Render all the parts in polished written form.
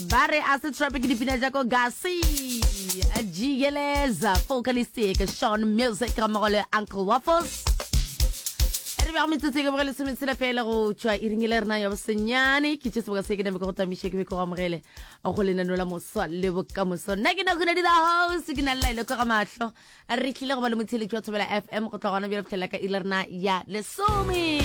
Ba re a se trap ke dipina tša ko Gasi, Jigeleza, Focalistic, Sean Music ga mmogo le Uncle Waffles. Re bego metsotso e ka boge lesometshela fela go tšwa iring e le rena ya bosenyane ke tše seboka se ke name ke go tamiše ke be ke go amogele go lenano la moswa le bokamoso nna ke nako di the house ke na le laelo ka ga mahlo Re tlile go ba le motheeletši wa Thobela FM go tloga gona bjale fitlhelela ka iri rena ya lesome.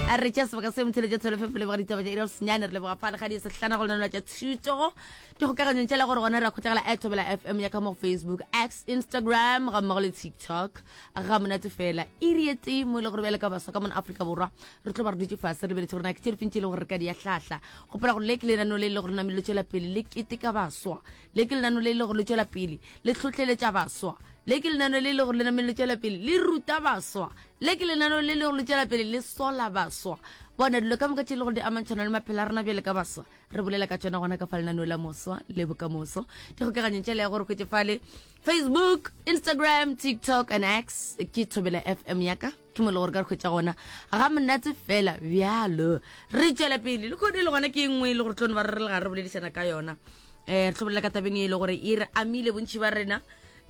A re tšea sebaka se motheeletši wa Thobela FM leboga ditaba tša iri ya senyane re leboga fa legadi sehlana go lenanelo tša thuto dikgokaganyong tša le gore gona re a kgotlagela at Thobela FM ya ka mo go Facebook, X, Instagram ga mmogo le TikTok ga monate fela iri ye tee mo e le gore bjale ka baswa ka mona Afrika Borwa re tlo ba re dutše fase re lebeletse gore na ke tše difeng tše e leng gore re ka di ya hlahla gopola gore le ke lenaneo le e le gore namile le tšwela pele le keteka baswa Le ke lenano le e le gore le tšwela pele le hlohleletša baswa. Le ke lenano le e le gore le namile le tšwela pele le ruta baswa. Le ke lenano le e le gore le tšwela pele le sola baswa. Bona dilo ka moka tše e le gore di amantšhana le maphelo a rena bjale ka baswa, re bolela ka tšona gona ka fa lenaneo la moswa le bokamoso. Dikgokaganyong tšela ya gore hwetše fale Facebook, Instagram, TikTok and X ke Thobela FM ya ka. Ke mo e le gore ka re hwetša gona ga monate fela bjalo. Re tšwela pele le kgone le gona ke e nngwe e le gore tlo no ba re re le gare re boledišana ka yona. um re tlo bolela ka tabeng e le gore e re amile bontši ba rena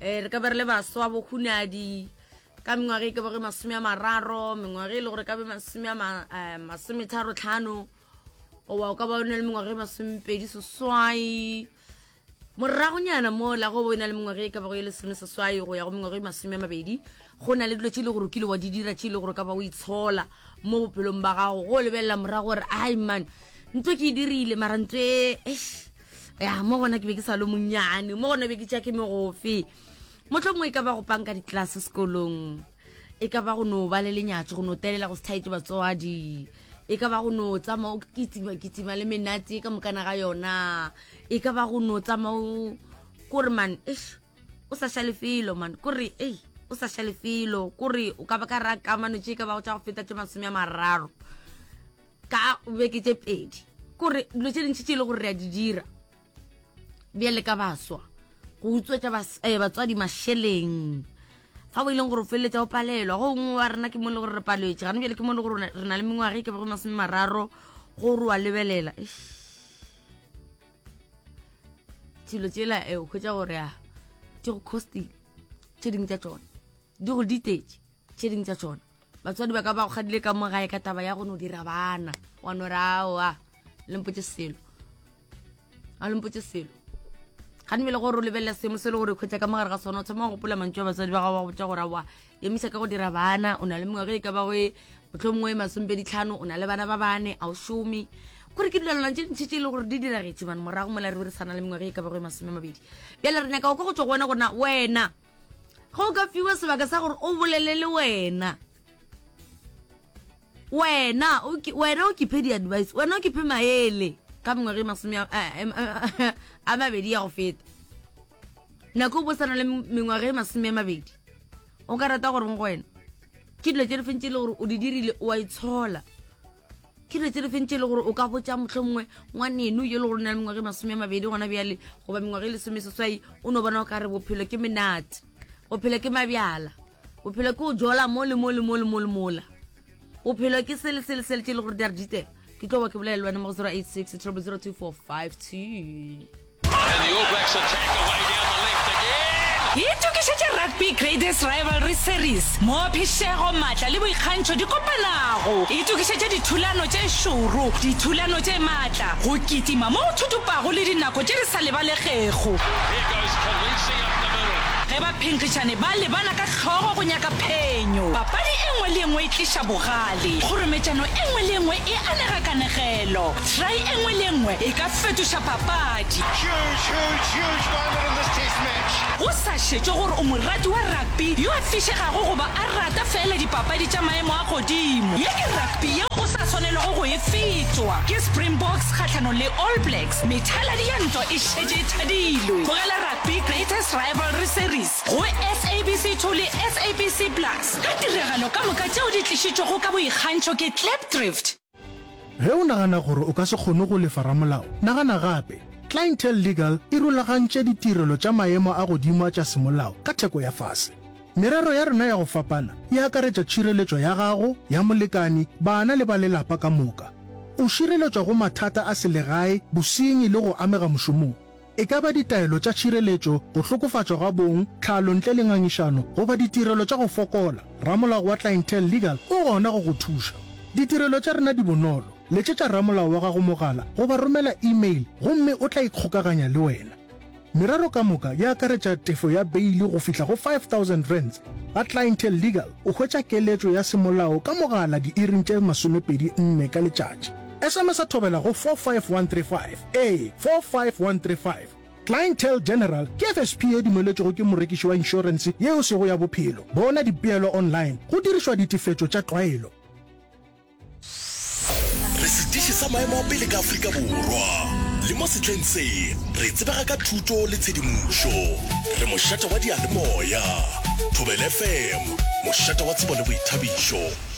um re ka be re le baswa bohunadi ka mengwaga e ka bego masome a mararo mengwaga e le gore ka be masome a eh, masometharo tlhano goba o ka ba o na le mengwaga e masomepedi seswai moragonyana mo la go bo na le mengwaga e ka bago e lesome seswai go ya go mengwaga e masome a mabedi go na le dilo tše e le gore o kile wa di dira tše e le gore ka ba o itshola mo bophelong ba gago go lebelela morago gore ai man ntho ke e dirile mara ntho e eish, ya mo gona ke be ke sa le monnyane mo gona be ke tša ke megofe motlho mongwe e ka ba go panka ditlelase sekolong e ka ba go no ba le lenyatso go no telela go se thaetse batswadi e ka ba go no tsamaya o kitima kitima le menate ka mokana ga yona e ka ba go no tsamaya o kore man eish o sa šale felo man kore ei o sa šale felo kore o ka ba ka ra kamano tše ka ba go tša go feta tše masome a mararo ka beke tše pedi kore dilo tše dintši tše e le gore re a di dira bjale ka baswa go utswetša eh, batswadi mašeleng fa bo e leng gore o feleletša o palelwa go nngwe wa rena ke mo e le gore re paletse gane bjale ke mo e le gore re na le mengwaga e ka bego masome mararo gore wa lebelela dilo tsela e o hwetša gore a di go costile tše dingwe tša tsona di go ditetše tše dingwe tša tsona batswadi ba ka ba go kgadile ka mo gae ka taba ya go no dira bana wa no re aowa le mpotse selo a le mpotse selo ga nbele gore o lebelela seemo se le gore kgwetsa ka mogare ga sona o thoma go gopola mantšu a batswadi ba gago ba go botsa gore aowa emisa ka go dira bana o na le mengwaga e ka ba go e motlho mongwe e masomepedi tlhano o na le bana ba bane a o šome gore ke dilwana tše ntšhi tše e le gore di diragetše bane morago mola re be re sana le mengwaga e ka ba go e masome mabedi bjale re nyaka go kwa go tswa go wena gorena wena ge o ka fiwa sebaka sa gore o bolele le wena wena wena o kiphe di-advice wena o kiphe maele ka mengwaga e masome a mabedi ya go feta nako o bo sana le mengwaga e masome a mabedi o ka rata gore go wena ke dilo tse di feng tse e le gore o di dirile o a itshola ke dilo tse di feng tse e le gore o ka botsa motlho mongwe ngwaneno yo e le gore o na le mengwaga e masome a mabedi gona bjale goba mengwaga e lesome seswai o no bona o ka re bophelo ke menate bophelo ke mabjala bophelo ke o jola mo le mo le mo le mo le mola bophelo ke sele sele sele tse e le gore di a re ditela ke tlo ba ke bolela le wena mo go 086 0002452 Itokišetše Rugby Greatest Rivalry Series, moo phišego, maatla le boikgantšho di kopanago. Itokišetše dithulano tše šoro, dithulano tše maatla, go kitima mo go thutupago le dinako tše di sa lebalegego. Ge baphenkgišani ba lebana ka hlogo go nyaka phenyo, papadi e nngwe le e nngwe e tliša bogale, kgorometšano e nngwe le e nngwe e anega kanegelo. Try e nngwe le e nngwe e ka fetoša papadi. Huge, huge, huge moment in this test match. Go sa šetšwe gore o morati wa rugby yo a fišegago goba a rata feela dipapadi tša maemo a godimo, ye ke rugby yeo o sa swanelwago go e fetwa. Ke Springboks kgahlanong le All Blacks, methaladi ya ntwa e šetše e thadilwe. Bogela Rugby Greatest Rivalry Series go SABC 2 le SABC Plus ka tiragalo ka moka tšeo di tlišitšwego ka boikgantšho ke Klipdrift. Ge o nagana gore o ka se kgone go lefa ramolao, nagana gape. Clientele Legal e rulagantše ditirelo tša maemo a godimo a tša semolao ka theko ya fase. Merero ya rena ya go fapana e akaretša tšhireletšo ya gago, ya molekani, bana le ba lelapa ka moka. O šireletšwa go mathata a selegae, bosenyi le go amega mošomong. E ka ba ditaelo tša tšhireletšo, go hlokofatšwa ga bong, tlhalo ntle le ngangišano, goba ditirelo tša go fokola, ramolao wa Clientele Legal o gona go go thuša. Ditirelo tša rena di bonolo, letšetša ramolao wa gago mogala goba romela email gomme o tla ikgokaganya le wena. Merero ka moka e akaretša tefo ya beili go fihla go R5000. Ga Clientele Legal o hwetša keletšo ya semolao ka mogala diiring tše 24 ka letšatši. SMS-a thobela go 45135. Ee, 45135. Clientele General ke FSP ye dumeletšwego ke morekiši wa inšorense ye e sego ya bophelo. Bona dipeelo online go dirišwa ditefetšo tša tlwaelo. Re setiši sa maemo a pele ka Afrika Borwa, le mo sehleng se re tsebega ka thuto le tshedimošo. Re mošate wa diyalemoya. Thobela FM, mošate wa tsebo le boithabišo.